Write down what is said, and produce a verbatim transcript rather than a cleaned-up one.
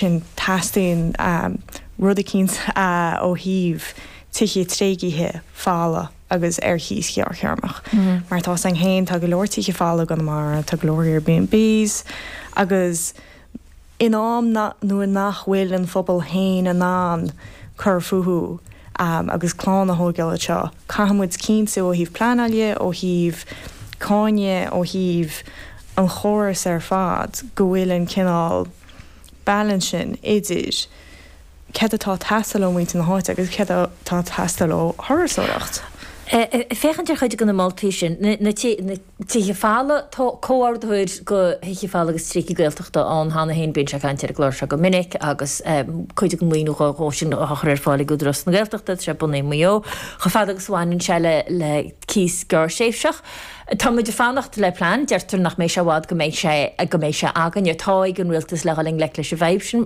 Sin teastaíonn um, rud eicínt uh, ó thaobh tithe tréigthe folamh agus ar chíos gearrthéarmach. Mm -hmm. Mar tá san féin tá go leor tithe folamh gan mar tá go leor Airbnbs agus in am nuair nach bhfuil an phobal féin in ann cur fúthu um, agus clann a thógáil anseo. Caithfimid cinntiú ó thaobh pleanála ó thaobh cáine ó thaobh an chóras ar fad go bhfuil an cineál balance sin idir céard atá ag teastáil ó mhuintir na háite agus céard atá ag teastáil ó thurasóireacht. Féachaint ar chuid de na moltaí sin na tithe folamh comhordaitheoir do thithe folamh agus tréigthe Gaeltachta ann cheana féin bíonn sé ag caint ar an gclár seo go minic agus cuid den mhaoiniú dhó sin á chur ar fáil ag Údarás na Gaeltachta tá sé bunaithe i Maigh Eo chomh fada agus a bhaineann sé le le cíos gearrthréimhseach. Tá muid ag fanacht le plean, deirtear nach mbeidh sé i bhfad go mbeidh sé go mbeidh sé againne atá ag an rialtas le dhul i ngleic leis an bhfadhb sin.